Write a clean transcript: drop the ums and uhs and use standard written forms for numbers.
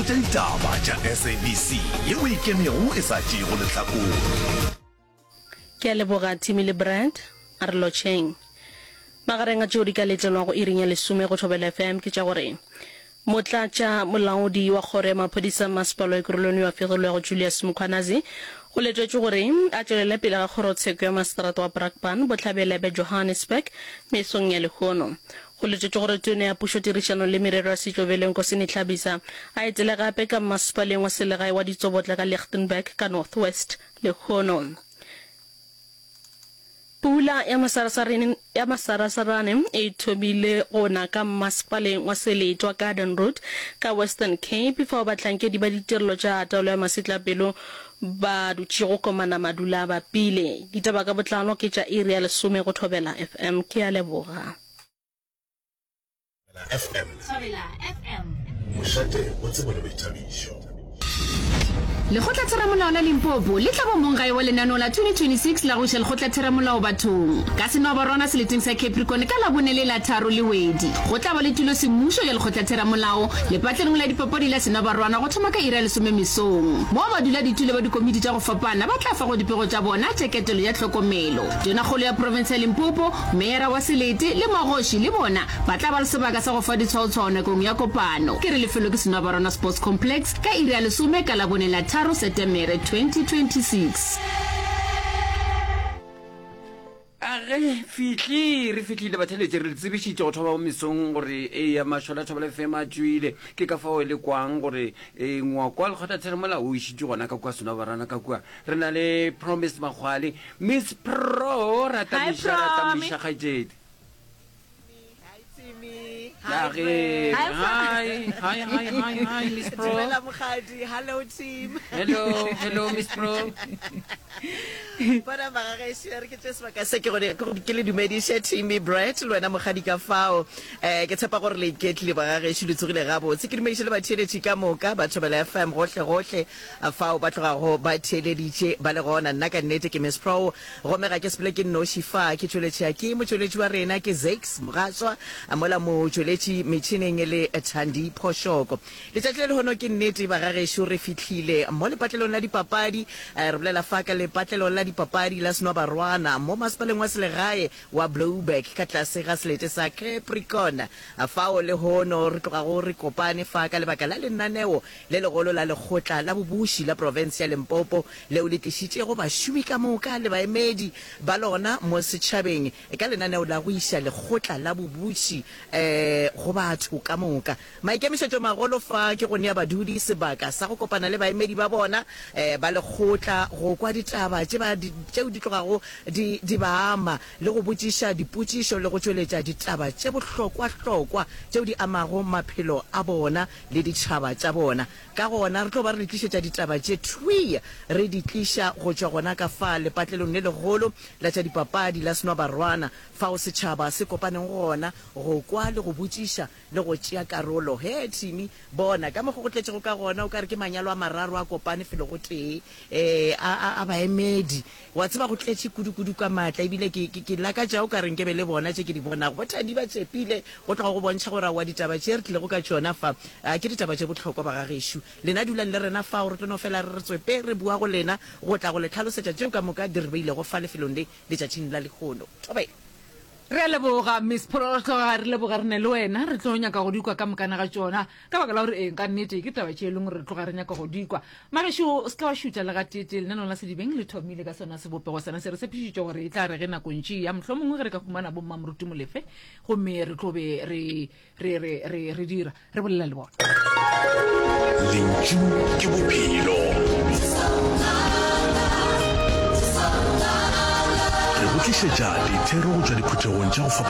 Dikgolo tša ditaba tša SABC yeo e ikemego e sa tšeego lehlakore. Ke a leboga Timmy le Brad. A re lotšheng. Magareng a tšeo di ka letlelwago iring ya lesome go Thobela FM ke tša gore Motlatša molaodi wa kgoro ya maphodisa Mmasepala wa Ekurhuleni yo a fegilwego Julius Mkhwanazi o letetšwe gore a tšwelele pele ga kgorotsheko ya maseterata wa Brakpan bohlabela bja Johannesburg mesong ya lehono. Go letetšwe gore Tona ya Pušo Tirišano le Merero ya Setšo Velenkosini Hlabisa a etele gape ka mmasepaleng wa selegae wa Ditsobotla ka Lichtenburg ka North West lehono. Pula ya masarasarane ya masarasarane e thomile go na ka mmasepaleng wa selete wa Garden Route ka Western Cape fao bahlankedi ba ditirelo tša taolo ya masetlapelo ba dutšego komana madula a bapile. Ditaba ka botlalo ke tša iri ya lesome go Thobela FM. Ke a leboga. Thobela FM. Thobela FM. Mošate wa tsebo le boithabišo. Lekgotlatheramolao la Limpopo le tla ba monggae wa lenaneo la 2026 la go iša lekgotlatheramolao bathong ka Senwabarwana seleteng sa Capricorn ka Labone le la tharo Lewedi. Go tla ba le tulo semmušo ya lekgotlatheramolao lepatlelong la dipapadi la Senwabarwana go thoma ka iri ya lesome mesong, moo baduladitulo ba dikomiti tša go fapana ba tla fago dipego tša bona tša ketelo ya tlhokomelo. Tonakgolo ya profense ya Limpopo, meyara wa selete le magoši le bona ba tla ba le sebaka sa go fa ditshwaotshwao nakong ya kopano. Ke re lefelo ke Senwabarwana Sports Complex ka iri ya lesome ka Labone la tharo Setemere 2026. A ge fihli re fihlile batheletše re le tsebišitše go thoma mo mesong gore eya mašole a Thobela FM a tšwile ke ka fao e le kwang gore e, ngwako wa lekgotlatheramolao o išitšwe gona ka kua Senwabarwana ka kua re na le Promise Makgwale Miss Pro Hi, ratamiša Promi. ratamiša kgaetšedi Hi Timmy. Hi Ya ge. Brad. Hi, Pro. Hi, hi, hi, hi, hi, Miss Pro. Dumela Mokgadi. Hello team. Hello, hello, Miss Pro. Bona bagagešo re ke tše sebaka se ke gore ke le dumediše Timmy Brad le wena Mokgadi ka fao. Eh ke tshepa gore le iketlile bagagešo le tsogile gabotse. Ke dumediše le batheeletši ka moka ba Thobela FM gohle gohle fao ba tlogago ba theeleditše ba le gona. Nna ka nnete ke Miss Pro Gomme ga ke sepele ke nnoši fa, ke tšweletša ke motšweletši wa rena ke Zakes Mogaswa, mola motšweletši metšhineng e le Thandi Phošoko. Letšatši la lehono ke nnete bagagešo re fihlile mo lepatlelong la dipapadi, re bolela fa ka lepatlelo la dipapadi la Senwabarwana mo masepaleng wa selegae wa Blouberg ka tlase ga selete sa Capricorn. Fao lehono re tlogago re kopane fa ka lebaka la lenaneo le legolo la Lekgotla la Bobuši la Profense ya Limpopo leo le tlišitšego bašomi ka moka le baemedi ba lona mo setšhabeng ka lenaneo la go iša Lekgotla la Bobuši go batho ka moka. Maikemišetšomagolo fa ke go nea badudi sebaka sa go kopana le baemedi ba bona ba lekgotla, go kwa ditaba tšeo di tlogago di ba ama le go botšiša dipotšišo le go tšweletša ditaba tše bohlokwahlokwa tšeo di amago maphelo a bona le ditšhaba tša bona. Ka gona, re tlo ba re le tlišetša ditaba tše thwii, re di tliša go tšwa gona ka fa lepatlelong le legolo la tša dipapadi la Senwabarwana, fao setšhaba se kopaneng gona go kwa le go botšiša le go tšea karolo. Hee, Timmy, bona ka mokgo go tletšego ka gona, o ka re ke manyalo a mararo a kopane felo go tee, ee, a, a, a baemedi. Wa tseba, go tletše kudu-kudu ka maatla, ebile ke, ke, ke lakatša o ka re nke be le bona tše ke di bonago. Bo Thandi ba tšepile go tloga go bontšha gore aowa ditaba tše re tlilego ka tšona fa, a, ke ditaba tše bohlokwa, bagagešo. Lena dulang le rena fao, re tlo no fela re re tswepe re boa go lena go tla go le hlalosetša tšeo ka moka di re beilego fa lefelong le letšatšing la lehono. Thobela. Re a leboga, Miss Pro, re tloga re leboga re ne le wena. Re tlo nyaka go di kwa ka mokana ga tšona. Ka baka la gore eng, ka nnete, ke taba tše e leng gore re tloga re nyaka go di kwa. Magešo, o se ke wa šutha le gateetee, lenaneo la Sedibeng le thomile ka sona sebopego sena se. Re tshepišitše gore e tla re ge nako ntši e ya, mohlomongwe ge re ka humana bommamoruti Molefe, gomme re tlo be re, re, re, re, re dira, re bolela le bona. Lentšu ke bophelo. Re go tlišetša dithero go tšwa diphuthegong tša go fapana.